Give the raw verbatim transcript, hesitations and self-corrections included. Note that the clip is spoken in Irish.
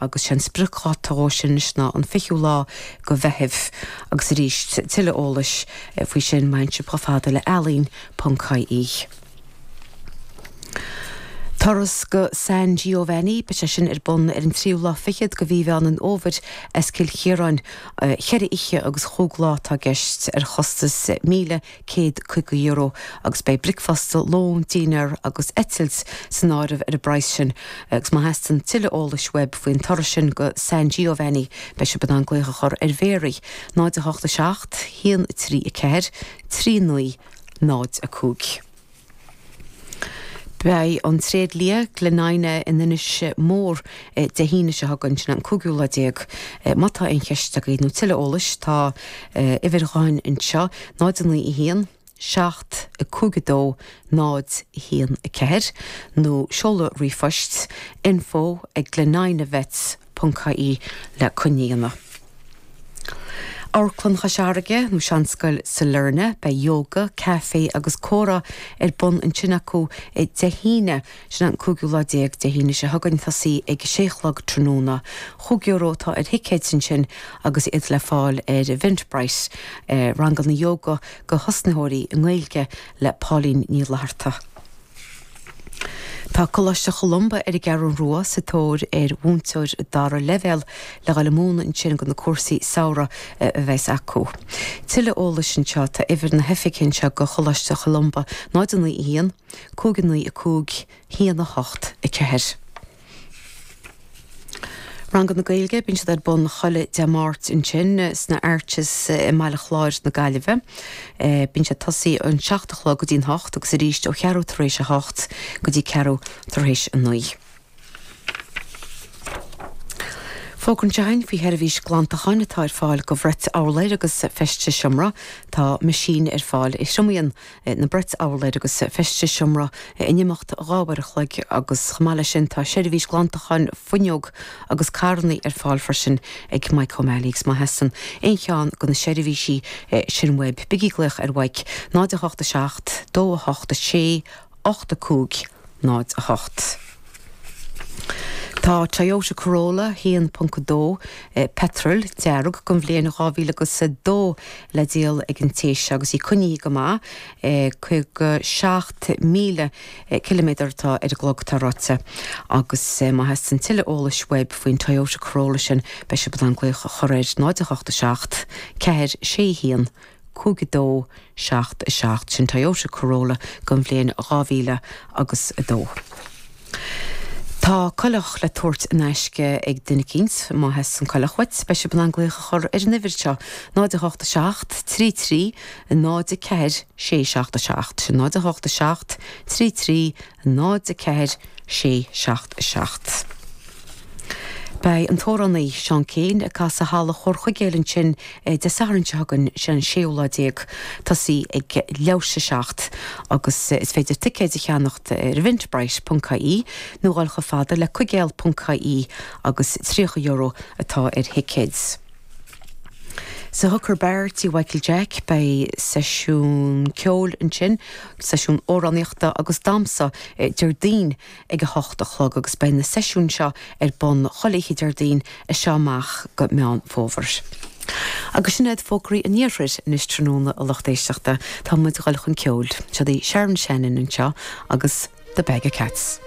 agus sé an spriocdháta dhó sin anois ná an fichiú lá go Mheitheamh agus arís tuilleadh eolais faoi sin má théann sibh chomh fada le ealaín ponc ie. Turas go San Giovanni, beidh sé sin ar bun ar an tríú lá fichead go mhí Mheán an Fhómhair as Cill Chiaráin, cheithre oíche agus chúig lá atá i gceist ar chostas míle céad caoga euro agus beidh bricfeasta, lón, dinnéar agus eitilt san áireamh ar an bpraghas sin agus má theastaíonn tuilleadh eolais uaibh faoin turas sin go San Giovanni beidh sibh in ann glaoch a chur ar Mhéaraí náid a hocht a seacht, haon trí a ceathair, trí naoi, náid a cúig. Beidh an tréidlia Glenina in Inis Mór Dé hAoine seo chugainn, sin an cúigiú lá déag. Má tá aon cheist agaibh nó tuilleadh eolais tá uimhir gutháin anseo, náid a naoi a haon, seacht, cúig a dó, náid, haon a ceathair nó seoladh ríomhphoist info ag gleninavets ponc ie le coinne a dhéanamh. Amharclann Chois Fharraige nó Seanscoil Sailearna, beidh yoga, caife agus comhrá ar bun ansin acu Dé hAoine, sin an cúigiú lá déag, Dé hAoine seo chugainn, tosaí ag a sé a chlog tráthnóna. Chúig euro atá ar thicéid ansin agus iad le fáil ar Eventbrite. Ranganna yoga do thosnaitheoirí i nGaeilge le Pauline Ní Fhlatharta. Tá Coláiste Cholumba ar an gCeathrú Rua sa tóir ar mhúinteoir dara leibhéal le dhul ag múineadh ansin go na cúrsaí samhraidh a bheas acu. Tuilleadh eolais anseo, tá uimhir na hoifige anseo go Choláiste Cholumba, náid a naoi a haon, cúig a naoi a cúig, haon a hocht a ceathair. Ranganna Gaeilge, bíonn siad ar bun chuile Dé Máirt ansin sna Arches i mBaile Chláir na Gaillimhe. Bíonn siad tosaí ón seacht a chlog go dtí'n hocht agus arís ó cheathrú tar éis a hocht go dtí ceathrú tar éis a naoi. Fógra anseo againn faoi sheirbhís glantacháin atá ar fáil go bhrait urláir agus feistis seomra. Tá meaisín ar fáil a thriomaíonn na brait urláir agus feistis seomra in imeacht dhá uair a chloig agus chomh maith leis sin tá seirbhís glantacháin fuinneog agus carranna ar fáil freisin ag Mike O'Malley agus má theastaíonn aon cheann de na seirbhísí sin uaibh bígí ag glaoch ar Mhike náid a hocht a seacht dó a hocht a sé ocht a cúig náid a hocht. Tá Toyota Corolla haon ponc dó petrol dearg den bhliain dhá mhíle agus a dó le díol ag an té seo agus í coinnithe go maith, caoga seacht míle ciliméadar atá ar an gclog atá ráite agus má theastaíonn tuilleadh eolais uaibh faoin Toyota Corolla sin beidh sibh in ann glaoch a chur ar náid a hocht a seacht ceathair sé haon cúig a dó seacht a seacht, sin Toyota Corolla den bhliain dhá mhíle agus a dó. Tá coileach le tabhairt in aisce ag duine eicínt, má theastaíonn coileach uait, beidh sibh in ann glaoch a chur ar an uimhir seo, náid a hocht a seacht, trí trí, náid a ceathair, sé seacht a seacht. Sin náid a hocht a seacht, trí trí, náid a ceathair, sé seacht a seacht. Beidh an t-amhránaí Seán Keane ag casadh i Halla Chomhar Chuigéil ansin Dé Sathairn seo chugainn, sin an séú lá déag, tosaí ag leathuair tar éis a seacht agus is féidir ticéid a cheannacht ar eventbrite ponc ie nó dhul chomh fada le cuigéal ponc ie agus tríocha euro atá ar thicéid. Sa Hooker Bar, Tí Mhichael Jack, beidh seisiún ceoil ansin, seisiún amhránaíochta agus damhsa Déardaoin ag a hocht a chlog agus beidh na seisiúin seo ar bun chuile oíche Déardaoin as seo amach go Meán Fómhair. Agus sin iad fógraí an Iarthair anois tráthnóna a lucht éisteachta. Tá muid ag dul chun ceoil. Seo í Sharon Shannon anseo agus The Bag of Cats.